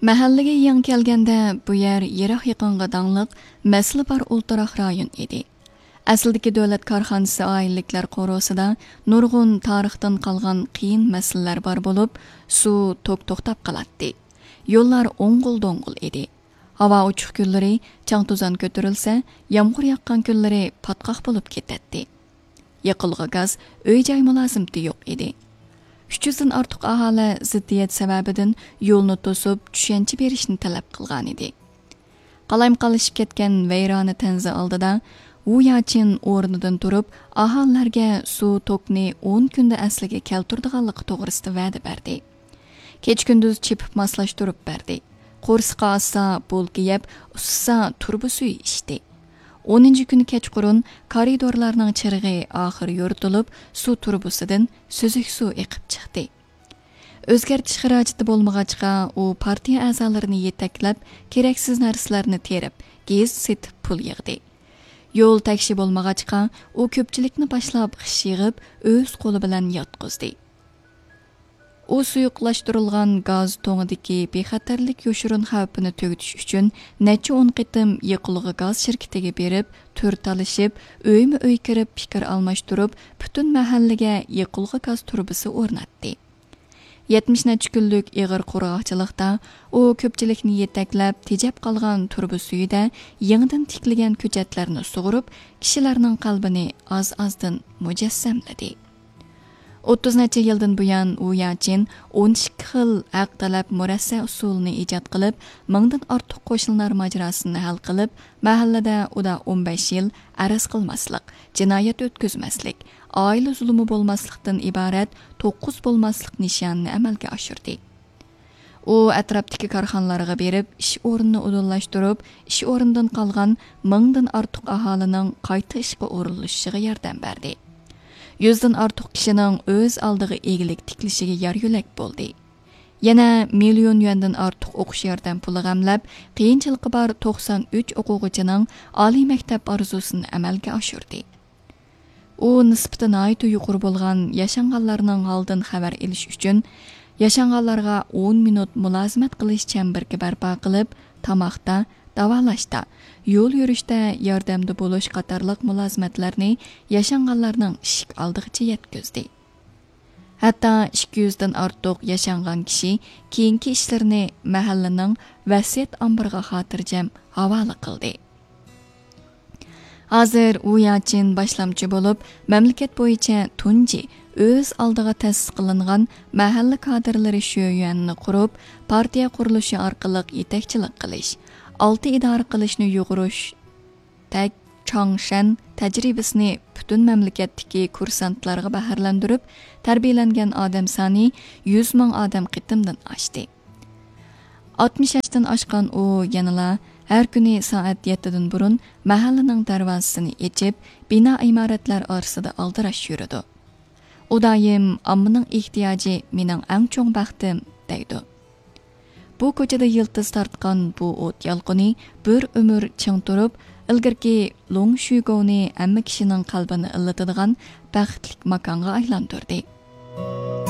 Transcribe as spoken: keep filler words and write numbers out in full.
مەھەللىگە يېڭى كەلگەندە، بۇ يەر يىراق يېقىنغا داڭلىق، مەسىلە بار ئولتۇراق رايون ئىدى. ئەسلىدىكى دۆلەت كارخانىسى ئائىلىلىكلەر قورۇسىدا نۇرغۇن تارىختىن قالغان قىيىن مەسىلىلەر بار بولۇپ، سۇ، توك توختاپ قالاتتى. يوللار ئوڭغۇل-دوڭغۇل ئىدى. ھاۋا ئوچۇق كۈنلىرى چاڭ-توزان كۆتۈرۈلسە، يامغۇر ياغقان كۈنلىرى پاتقاق بولۇپ كېتەتتى. يېقىلغۇ گاز، ئۆي-جاي مۇلازىمىتى يوق ئىدى. ئۈچ يۈزدىن ئارتۇق ئاھالە زىددىيەت سەۋەبىدىن يولنى توسۇپ، چۈشەنچە بېرىشنى تەلەپ قىلغانىدى. قالايمىقانلىشىپ كەتكەن ۋەيرانە تەنزە ئالدىدا ۋۇ ياچىن ئورنىدىن تۇرۇپ، ئاھالىلەرگە سۇ توكنى ئون كۈندە ئەسلىگە كەلتۈرىدىغانلىقى توغرىسىدا ۋەدە بەردى. كېچە-كۈندۈز چېپىپ ماسلاشتۇرۇپ بەردى. قورسىقى ئاچسا، بولكا يەپ، ئۇسسىسا، تۇرۇبا سۈيى ئىچتى. ئونىنچى كۈنى كەچقۇرۇن كارىدورلارنىڭ چىرىغى ئاخىر يورۇتۇلۇپ، سۇ تۇرۇبىسىدىن سۈزۈك سۇ ئېقىپ چىقتى. ئۆزگەرتىش خىراجىتى بولمىغاچقا، ئۇ پارتىيە ئەزالىرىنى يېتەكلەپ، كېرەكسىز نەرسىلەرنى تېرىپ، گېز سېتىپ پۇل يىغدى. يول تەكشى بولمىغاچقا، ئۇ كۆپچىلىكنى باشلاپ خىش يىغىپ، ئۆز قولى بىلەن ياتقۇزدى. ئۇ سۇيۇقلاشتۇرۇلغان گاز تۇڭىدىكى بىخەتەرلىك يوشۇرۇن خەۋپىنى تۈگىتىش ئۈچۈن نەچچە ئون قېتىم يېقىلغۇ گاز شىركىتىگە بېرىپ، تۈر تالىشىپ، ئۆيمۇ ئۆي كىرىپ، پىكىر ئالماشتۇرۇپ، پۈتۈن مەھەللىگە يېقىلغۇ گاز تۇرۇبىسى ئورناتتى. يەتمىش نەچچە كۈنلۈك ئېغىر قۇرغاقچىلىقتا ئۇ كۆپچىلىكنى يېتەكلەپ، تېجەپ قالغان تۇرۇبا سۈيىدە يېڭىدىن تىكلىگەن كۆچەتلەرنى سۇغۇرۇپ، كىشىلەرنىڭ قەلبىنى ئاز-ئازدىن مۇجەسسەملىدى. ئوتتۇز نەچچە يىلدىن بۇيان ۋۇ ياچىن ئون ئىككى خىل ھەق تەلەپ مۇرەسسە ئۇسۇلىنى ئىجاد قىلىپ، مىڭدىن ئارتۇق قوشنىلار ماجىراسىنى ھەل قىلىپ، مەھەللىدە ئۇدا ئون بەش يىل ئەرز قىلماسلىق، جىنايەت ئۆتكۈزمەسلىك، ئائىلە زۇلۇمى بولماسلىقتىن ئىبارەت توققۇز بولماسلىق نىشانىنى ئەمەلگە ئاشۇردى. ئۇ ئەتراپتىكى كارخانىلارغا بېرىپ، ئىش ئورنىنى ئۇدۇللاشتۇرۇپ، ئىش ئورنىدىن قالغان مىڭدىن ئارتۇق ئاھالىنىڭ قايتا ئىشقا ئورۇنلىشىشىغا ياردەم بەردى. يۈزدىن ئارتۇق كىشىنىڭ ئۆز ئالدىغا ئىگىلىك تىكلىشىگە يار يۆلەك بولدى. يەنە مىليون يۈەندىن ئارتۇق ئوقۇش ياردەم پۇلى غەملەپ، قىيىنچىلىقى بار توقسان ئۈچ ئوقۇغۇچىنىڭ ئالىي مەكتەپ ئارزۇسىنى ئەمەلگە ئاشۇردى. ئۇ نىسبىتى ناھايىتى يۇقىرى بولغان ياشانغانلارنىڭ ھالىدىن خەۋەر ئېلىش ئۈچۈن، ياشانغانلارغا ئون مىنۇت مۇلازىمەت قىلىش چەمبىرىكى بەرپا قىلىپ، تاماقتا، داۋالاشتا، يول يۈرۈشتە ياردەمدە بولۇش قاتارلىق مۇلازىمەتلەرنى ياشانغانلارنىڭ ئىشىك ئالدىغىچە يەتكۈزدى. ھەتتا ئىككى يۈزدىن ئارتۇق ياشانغان كىشى كېيىنكى ئىشلىرىنى مەھەللىنىڭ ۋەسىيەت ئامبىرىغا خاتىرجەم ھاۋالە قىلدى. ھازىر ۋۇ ياچىن باشلامچى بولۇپ، مەملىكەت بويىچە تۇنجى ئۆز ئالدىغا تەسىس قىلىنغان مەھەللە كادىرلىرى شۆيۈەننى قۇرۇپ، پارتىيە قۇرۇلۇشى ئارقىلىق يېتەكچىلىك قىلىش، ئالتە ئىدارە قىلىشنى يۇغۇرۇش تەك چاڭشەن تەجرىبىسىنى پۈتۈن مەملىكەتتىكى كۇرسانتلارغا بەھرىلەندۈرۈپ، تەربىيەلەنگەن ئادەم سانى يۈز مىڭ ئادەم قېتىمدىن ئاشتى. ئاتمىش ياشتىن ئاشقان ئۇ يەنىلا ھەر كۈنى سائەت يەتتىدىن بۇرۇن مەھەللىنىڭ دەرۋازىسىنى ئېچىپ، بىنا ئىمارەتلەر ئارىسىدا ئالدىراش يۈرىدۇ. ئۇ دائىم «ئاممىنىڭ ئېھتىياجى مېنىڭ ئەڭ چوڭ بەختىم» دەيدۇ. بۇ كوچىدا يىلتىز تارتقان بۇ ئوت يالقۇنى بىر ئۆمۈر چىڭ تۇرۇپ، ئىلگىرىكى لوڭ شۈگوۋنى ھەممە كىشىنىڭ قەلبىنى ئىللىتىدىغان بەختلىك ماكانغا ئايلاندۇردى.